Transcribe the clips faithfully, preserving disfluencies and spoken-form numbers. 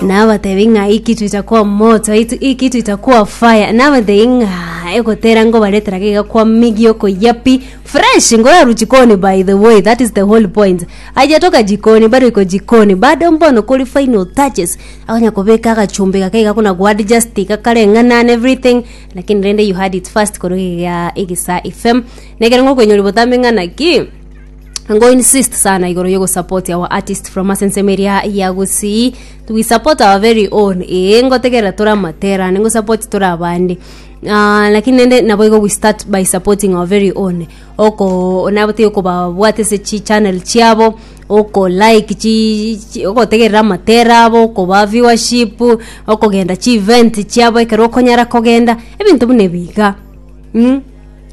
Nabatebi ng'a hii kitu itakuwa moto, hii hii kitu itakuwa fire. Nabatebi ng'a egotera ngobaretera iga kwa migioko yapi fresh ngoyaru jikoni. By the way, that is the whole point. Haijatoka jikoni, bado iko jikoni, bado mbono kuri final touches, akonya kubeka agachumbi gake kuna kuadjust kakareng'ana and everything, lakini rende you had it first korogiga Egesa F M. Nekero ngokoinyori botambe ng'ana ki ngo insist sana igoro yogo support our artist from asensemeria ya Gusii. We support our very own. Eh, ngotegera tora matera ningo support tora abandi. Uh, lakini nende nabo igo we start by supporting our very own, oko nabo okobabwate ase chi channel chiabo, oko like chi, chi ogotegerera amatera abo, okoba viewership, okogenda chi event chiabo ekero okonyara kogenda ebinto buna ebiga mm?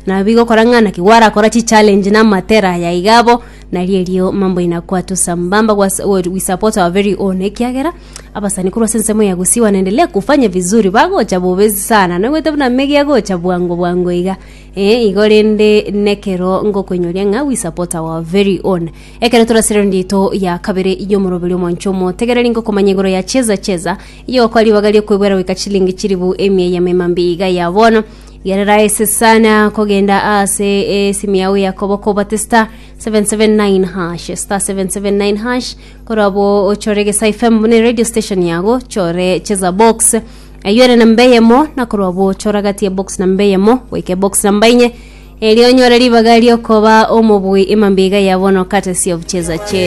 Nabigokora ng'ana ki warakora chi challenge na matera ya igabo nari erio mambo inakuwa tu sambamba. Was- we support our very own ekiagera abasani korwa ase ensemo ya Gusii wanaendelea kufanya vizuri, bagocha bobezi sana nogwete buna megi agocha bwango bwango iga. Eh, igo rende nekero ngokoinyoria ng'a we support our very own. Ekero turasire ndito ya kabere yomoroberi omwancho omotegereri, ngokomanya igoro ya Cheza Cheza iyo okora ribaga riokoibwera goika chilingi chiribu emia ya memambi iga ya bono. Gerera ese sana kogenda ase esimu yawe yakoboko obate star seven seven nine hash, star seven seven nine hash, korabo ochore Gesa F M bune radio station yago, chore Cheza Box eyo ere namba eyemo, na korwabo chora gati ya box namba eyemo goika box namba inye, erio onyore ribaga riokoba omobui emambiga ya bono courtesy of Cheza Cheza.